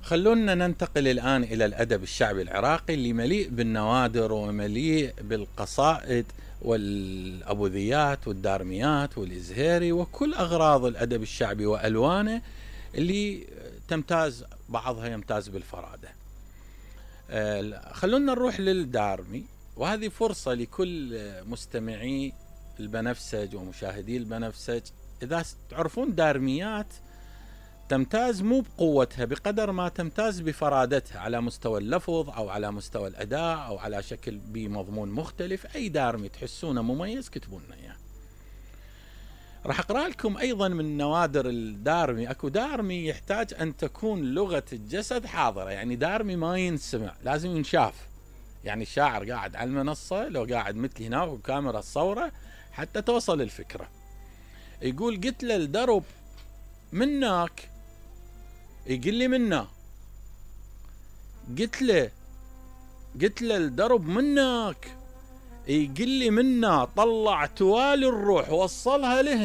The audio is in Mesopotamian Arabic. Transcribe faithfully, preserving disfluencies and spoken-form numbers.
خلونا ننتقل الآن إلى الأدب الشعبي العراقي اللي مليء بالنوادر ومليء بالقصائد والأبوذيات والدارميات والإزهيري وكل أغراض الأدب الشعبي وألوانه اللي تمتاز، بعضها يمتاز بالفرادة. خلونا نروح للدارمي، وهذه فرصة لكل مستمعي البنفسج ومشاهدي البنفسج. إذا تعرفون دارميات تمتاز مو بقوتها بقدر ما تمتاز بفرادتها على مستوى اللفظ أو على مستوى الأداء أو على شكل بمضمون مختلف. أي دارمي تحسونه مميز كتبوا لنا إياه. راح أقرأ لكم أيضا من نوادر الدارمي. أكو دارمي يحتاج أن تكون لغة الجسد حاضرة، يعني دارمي ما ينسمع، لازم ينشاف. يعني الشاعر قاعد على المنصة، لو قاعد مثلي هنا وكاميرا الصورة حتى توصل الفكرة. يقول قلت له الدرب منك، يقول لي منا. قلت له قلت له الدرب منك، يقول لي منا. طلع توالي الروح وصلها لهنا.